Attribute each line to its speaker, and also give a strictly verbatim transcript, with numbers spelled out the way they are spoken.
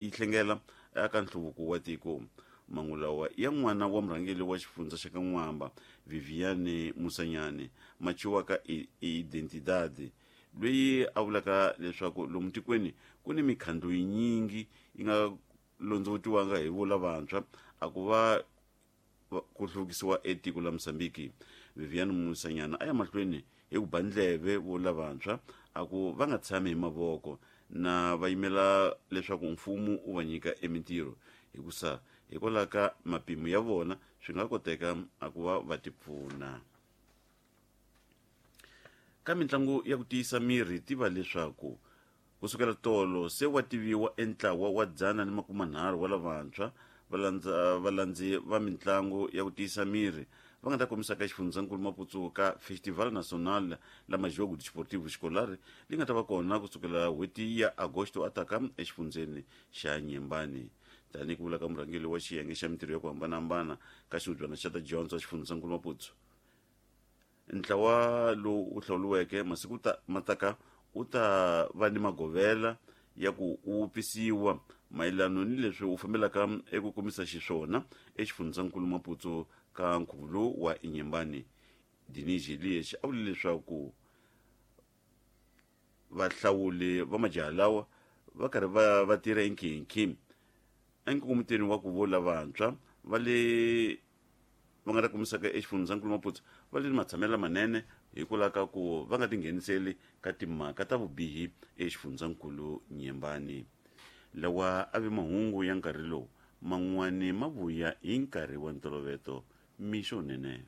Speaker 1: Yi hlengela eka nhluvuko wa tiko. Mangu lawa ya n'wana wa murhangeri wa xifundza xa ka N'wamba, Viviane Musanyane, ma thyiwaka Identidade, loyi a vulaka leswaku lomu tikweni ku ni mikhandlu yinyingi yi nga londzotiwanga hi vo lavantshwa a ku va ku hluvukisiwa etiko la Mosambiki. Viviane Musanyana a ya mahlweni hi ku ba ndleve vo lavantshwa a ku va nga tshami hi mavoko na va yimela leswaku mfumo wu va nyika emintirho, hikusa hikwalaho ka mapimo ya vona swi nga koteka a ku va va tipfuna. Ka mitlangu ya ku tiyisa miri, tiva leswaku kusukela tolo se wa tiviwa entlawa wa dzana ni makumanharhu wa lavantshwa valandzi va mitlangu ya ku tiyisa miri va nga ta kombisaka xifundzankulu Maputo ka Festival Nacional la Majogo Desportivo Escolar, leyi nga ta va kona kusukela n'hweti ya Agosto ataka exifundzeni xa Nyembani. Tanihi ku vula ka murhangeri wa xiyenge xa mintirho ya ku hambanahambana ka xihubyana xa ta dyondzo xifundzankulu Maputo, ntlawa lowu wu hlawuriweke masiku ta ma taka wu ta va ni magovela ya ku wu wupfisiwa mayelano ni leswi wu fambelaka eku kombisa xiswona exifundzankulu Maputo ka nkhuvo lowu wa Inyembani. Dinizhi Elias a vule leswaku vahlawuli va majaha lawa va karhi va va tirha enkhinkhi enkongomitweni wa ku vo lavantshwa va le va nga ta kombisaka exifundzankulu Maputo va le ni matshamelo lamanene hikwalaho ka ku va nga tingheniseli ka timhaka ta vubihi exifundzankulu Nyembani. Lawa a ve mahungu ya nkarhi lowu, man'wani ma vuya hi nkarhi wa ntolovelo. Mixo nene.